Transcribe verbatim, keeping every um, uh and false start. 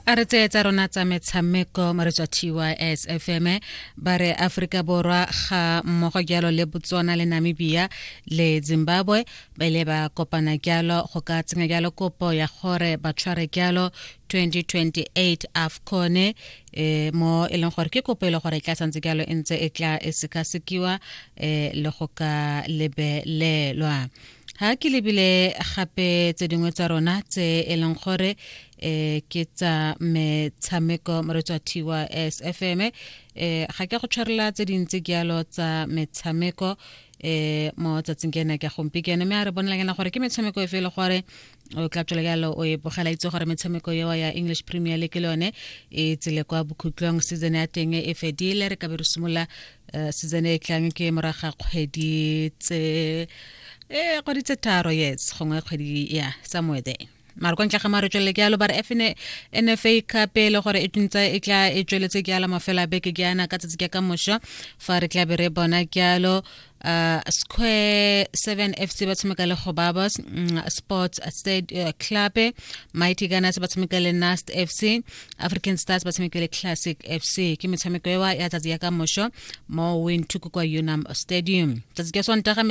A re tseye tsa rona tsa metshameko, moretsi wa T Y S F M. Ba re Aforika Borwa ga mmogo jalo le Botswana le Namibia le Zimbabwe ba ile ba kopana jalo go ka tsenya jalo kopo ya gore ba tshware jalo twenty twenty-eight AFCON, e mo e leng gore ke kopo e le gore e tla santse jalo e ntse e tla e sekasekiwa e le go ka lebelelwa. Ha ke lebile gape tse dingwe tsa rona tse e leng gore eh ke tsa metshameko, moretsi wa T Y S F M, eh ga ke go tshwarela tse dintsi jalo tsa metshameko eh mo tsatsing ke ena ke gompieno, mme a re bonela kena gore ke metshameko e fe le gore o tla tswela jalo o e bogela. Itse gore metshameko eo ya English Premier League le yone e tsile kwa bokhutlong, season ya teng e fedile. Re ka be re simolola eh, season e tlang ke moraga kgwedi tse eh kgwedi tse tharo, yes, gongwe kgwedi ya somewhere there. Mara kwa ntle ga mare tswelele ke yalo, ba re N F A Cup e le gore e ntse e tla e tsweletse ke yala mafelo a beke ke yana ka tsatsi ke ka mošo fa re tla be re bona ke uh, Square seven F C ba tshameka le Gobabos mm, Sports State uh, Club, Mighty Gunners ba tshameka le Nast F C, African Stars ba tshameka le Classic F C. Ke metshameko ewa ya tsatsi ya ka mošo mo Windhoek kwa Unam Stadium tsatsi ke Sontaga.